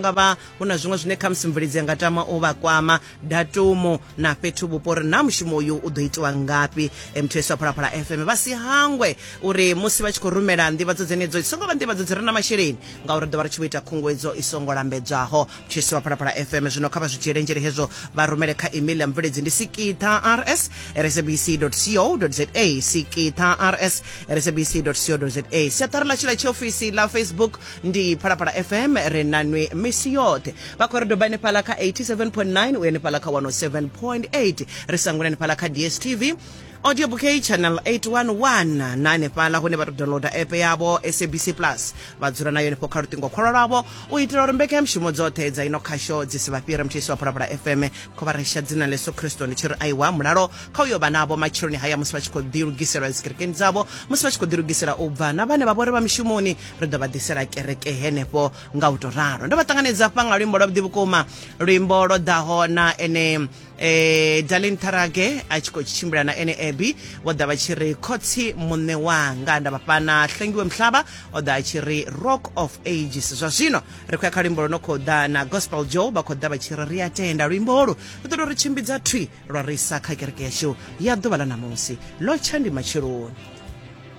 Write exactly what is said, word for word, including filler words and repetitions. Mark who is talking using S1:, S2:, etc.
S1: nga vha hu na zwiṅwe zwine khamusi mveledzi nga tama u vha kwama, datumu na fhethu vhupo uri na mushumo uyu u ḓo itiwa ngafhi. Mths wa Phalaphala F M vha si hangwe uri musi vha tshi khou rumela nḓivhadzo dzenedzo i songo vha nḓivhadzo dzi re na masheleni, ngauri ḓo vha ri tshi vho ita khunguwedzo i songo lambedzwaho. Mths wa Phalaphala F M zwino kha vha zwi dzhiele nzhele hezwo, vha rumele kha email ya mveledzi ndi sikitha rs at sabc dot co dot za, sikitha rs at sabc dot co dot za. Siaṱari ḽashu ḽa tshiofisi ḽa Facebook ndi Phalaphala F M, ri na nwi misi yoṱhe. Vha khou ri doba hanefhaḽa kha eighty-seven point nine u hanefhaḽa kha one oh seven point eight, ri sangula hanefhaḽa kha D S T V audio bouquet channel eight one one, na hanefhaḽa hune vha to downloada app yavho S A B C Plus, vha dzula nayo henefho kha luṱingo khwalwa lwavho u itela uri mbekanyamushumo dzoṱhe dza ino khasho dzi si vha fhire. Mthisi wa Phalaphala F M kho vha resha dzina ḽa Yesu Kristo ndi tshi ri aiwa mulalo kha uyo vha navho matsheloni haya musi vha tshi khou ḓilugisela dzikerekeni dzavho, musi vha tshi khou ḓilugisela u bva, na vhane vha vhori vha mishumoni ri ḓo vha ḓisela kereke henefho nga u to ralo. Ndo vha ṱanganedza hafha nga luimbo lwavhuḓi vhukuma, luimbo lwo ḓaho na ene eh Darlene Tharage a tshi khou tshimbila na ene Abby, vho ḓa vha tshi ri khotsi muṋe wanga. Nda vha fhana Hlengiwe Mhlaba o ḓa a tshi ri Rock of Ages. Zwa zwino ri khou ya kha luimbo lwo no khou ḓa na Gospel Joe, vha khou ḓa vha tshi ri ri a tenda. Luimbo holu lu ḓo ri tshimbidza thwi lwa ri isa kha kereke yashu ya ḓuvha ḽa ṋamusi. Ḽo tsha ndi matsheloni.